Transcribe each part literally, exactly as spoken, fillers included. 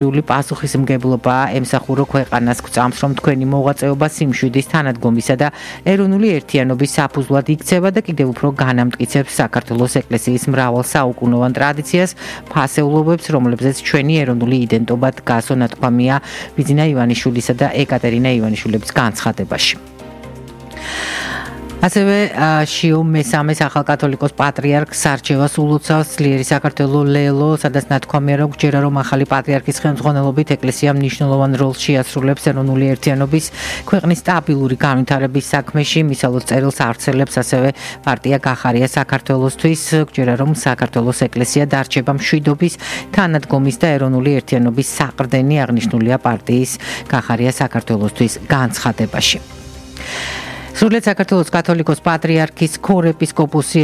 პასუხისმგებლობა ემსახურო ქვეყანას გვწამს, რომ თქვენი მოღვაწეობა სიმშვიდის თანადგომისა და ეროვნული ერთიანობის საფუძვლად იქცევა და კიდევ უფრო განამტკიცებს საქართველოს ეკლესიის მრავალ საუკუნოვან ტრადიციას, ფასეულობებს, რომლებზეც ჩვენი ეროვნული იდენტობა დგასო ნათქვამია ბიძინა ივანიშვილისა და ეკატერინა ივანიშვილების განცხადებაში. ასევე შიო მესამე ახალკათოლიკოს პატრიარქს არჩევას ულოცავს ძლიერი საქართველოს ლელო, სადაც ნათქვამია, რომ გჯერა რომ ახალი პატრიარქის ხელმძღვანელობით ეკლესია მნიშვნელოვან როლს შეასრულებს ეროვნული ერთიანობის, ქვეყნის სტაბილური განვითარების საქმეში, მისალოდ წერილს ავრცელებს ასევე პარტია გახარია საქართველოსთვის, გჯერა რომ საქართველოს ეკლესია დარჩება მშვიდობის, თანადგომის და ეროვნული ერთიანობის საყრდენი, აღნიშნულია პარტიის გახარია საქართველოსთვის განცხადებაში. სრულიად საქართველოს კათოლიკოს პატრიარქის ქორეპისკოპოსი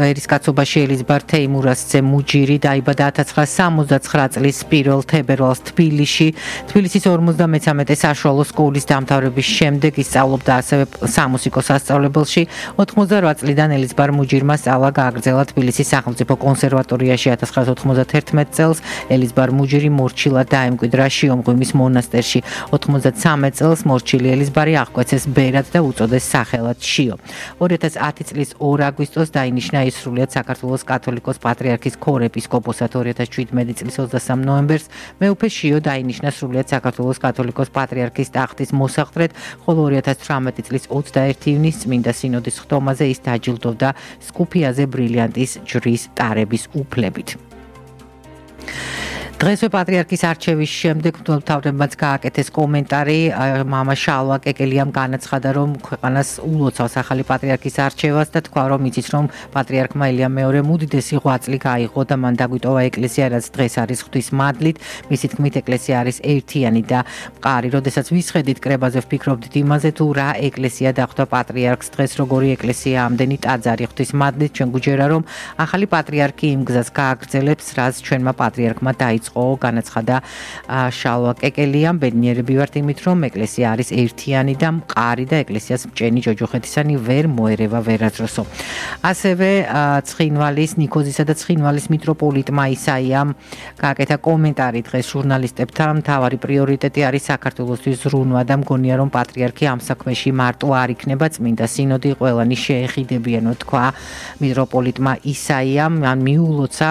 ერისკაცობაში ელიზბარ თეიმურაზძე მუჯირი დაიბადა ათას ცხრაასი სამოცდაცხრა წლის პირველ თებერვალს თბილისში. თბილისის ორმოცდამეცამეტე საშუალო სკოლის დამთავრების შემდეგ ისწავლობდა ასევე სამუსიკო სასწავლებელში. ოთხმოცდარვა წლიდან ელიზბარ მუჯირმა სწავლა გააგრძელა თბილისის სახელმწიფო კონსერვატორიაში. ათას ცხრაასი ოთხმოცდათერთმეტ წელს ელიზბარ მუჯირი მორჩილად დაემკვიდრა შიომღვიმის მონასტერში. ოთხმოცდათრამეტ წელს მორჩილი ელიზბარი აღკვეცეს ბერად და უწოდეს სახელად შიო. ორი ათას ათი წლის ორ აგვისტოს დაინიშნა ის სრულიად საქართველოს კათოლიკოს პატრიარქის ქორეპისკოპოსად. ორი ათას შვიდმეტი წლის ოცდასამ ნოემბერს მეუფე შიო დაინიშნა სრულიად საქართველოს კათოლიკოს პატრიარქის ტახტის მოსაყდრედ, ხოლო ორი ათას ცხრამეტი წლის ოცდაერთი ივნისს წმინდა სინოდის ხტომაზე ის დაჯილდოვდა სკუფიაზე ბრილიანტის ჯვრის ტარების უფლებით. დღესვე პატრიარქის არჩევის შემდეგ მთავრობამაც გააკეთეს კომენტარი. მამა შალვა კეკელიამ განაცხადა, რომ ქვეყანას ულოცავს ახალი პატრიარქის არჩევას და თქვა, რომ იცის, რომ პატრიარქმა ელია მეორემ უდიდესი ღვაწლი გაიღო და მან დაგვიტოვა ეკლესია, რაც დღეს არის ღვთის მადლით. მისი თქმით, ეკლესია არის ერთიანი და მყარი. როდესაც ვისხედით კრებაზე ვფიქრობდით იმაზე, თუ რა ეკლესია დახვდა პატრიარქს დღეს, როგორი ეკლესია ამდენი ტაძარი ღვთის მადლით, ჩვენ გვიჯერა, რომ ახალი პატრიარქი იმ გზას გააგრძელებს, რაც ჩვენმა პატრიარქმა დაიწყო. განაცხადა შალვა კეკელიამ. ბედნიერები ვართ იმით, რომ ეკლესია არის ერთიანი და მყარი და ეკლესიას მჭენი ჯოჯოხეთისანი ვერ მოერევა ვერასდროსო. ასევე ცხინვალის, ნიქოზისა და ცხინვალის მიტროპოლიტმა ისაიამ გააკეთა კომენტარი დღეს ჟურნალისტებთან. მთავარი პრიორიტეტი არის საქართველოსთვის ზრუნვა და მგონია, რომ პატრიარქი ამ საქმეში მარტო არ იქნება, წმინდა სინოდი ყველანი შეეხიდებიანო, თქვა მიტროპოლიტმა ისაიამ. მან მიულოცა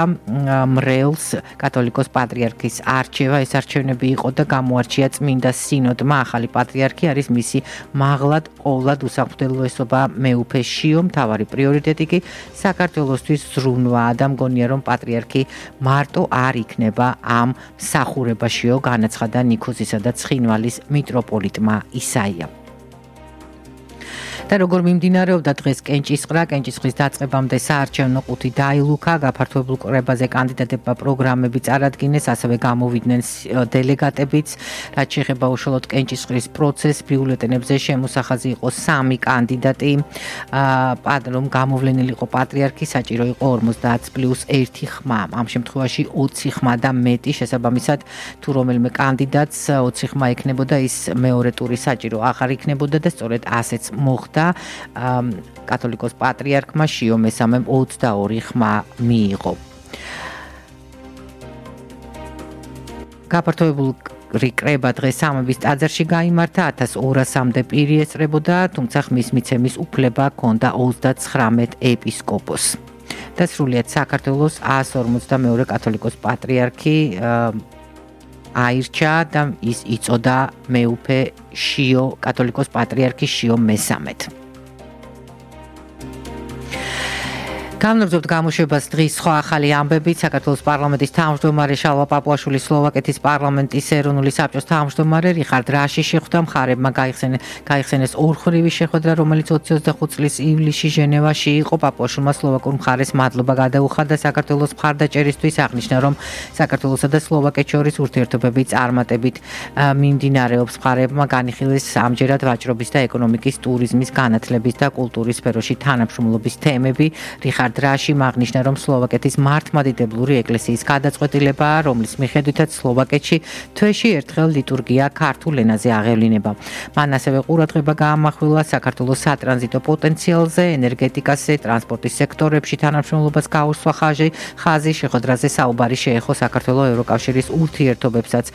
მრევლს კათოლიკოს პატრიარქის არჩევა. ეს არჩევნები იყო და გამოარჩია წმინდა სინოდმა. ახალი პატრიარქი არის მისი მაღლად ყოვლად უსამხმდელოესობა მეუფე შიო. მთავარი პრიორიტეტი კი საქართველოსთვის ზრუნვაა და მგონია, რომ პატრიარქი მარტო არ იქნება ამ მსახურებაშიო, განაცხადა ნიქოზისა და ცხინვალის მიტროპოლიტმა ისაიამ. და როგორ მიმდინარეობდა დღეს კენჭისყრა, კენჭისყრის დაწყებამდე საარჩევნო ყუთი დაილუქა, გაფართოებულ კრებაზე კანდიდატებმა პროგრამები წარადგინეს, ასევე გამოვიდნენ დელეგატებიც. რაც შეეხება უშუალოდ კენჭისყრის პროცესს, ბიულეტენებზე შემოსახაზი იყო სამი კანდიდატი. რომ გამოვლენილი იყო პატრიარქი, საჭირო იყო ორმოცდაათ პლუს ერთი ხმა. ამ შემთხვევაში ოცი ხმა და მეტი, შესაბამისად, თუ რომელიმე კანდიდატს ოცი ხმა ექნებოდა, ის მეორე ტური საჭირო აღარ იქნებოდა და სწორედ ასეც მოხდა. კათოლიკოს პატრიარქმა შიო მესამემ ოცდაორი ხმა მიიღო. გაფართოებული კრება დღეს სამების ტაძარში გაიმართა, ათას ორასამდე პირი ესწრებოდა, თუმცა ხმის მიცემის უფლება ჰქონდა ოცდაცხრამეტ ეპისკოპოსს. და სრულიად საქართველოს ას ორმოცდამეორე კათოლიკოს პატრიარქი აირჩა და ის იწოდა მეუფე შიო, კათოლიკოს პატრიარქი შიო მესამედ. გამარჯობთ გამოშვებას დღის სხვა ახალი ამბებით. საქართველოს პარლამენტის თავმჯდომარე შალვა პაპუაშვილი, სლოვაკეთის პარლამენტის ეროვნული საბჭოს თავმჯდომარე რიხარდ რაში შეხვდა. მხარებმა გაიხსენეს ორმხრივი შეხვედრა, რომელიც ოცი ოცდახუთ წლის ივლისში ჟენევაში იყო. პაპუაშვილმა სლოვაკურ მხარეს მადლობა გადაუხადა საქართველოს მხარდაჭერისთვის, აღნიშნა, რომ საქართველოსა და სლოვაკეთს შორის ურთიერთობები წარმატებით მიმდინარეობს. მხარებმა განიხილეს ამჯერად ვაჭრობის და ეკონომიკის, ტურიზმის, განათლების და კულტურის სფეროში თანამშრომლობის თემები. რიხარდ დრაშიმ აღნიშნა, რომ სლოვაკეთის მართლმადიდებლური ეკლესიის გადაწყვეტილებაა, რომლის მიხედვითაც სლოვაკეთში თვეში ერთხელ ლიტურგია ქართულ ენაზე აღევლინება. მან ასევე ყურადღება გაამახვილა საქართველოს სატრანზიტო პოტენციალზე, ენერგეტიკაზე, ტრანსპორტის სექტორებში თანამშრომლობას გაუსვა ხაზი, ხაზი შეხვედრაზე საუბარი შეეხო საქართველოს ევროკავშირის ურთიერთობებსაც.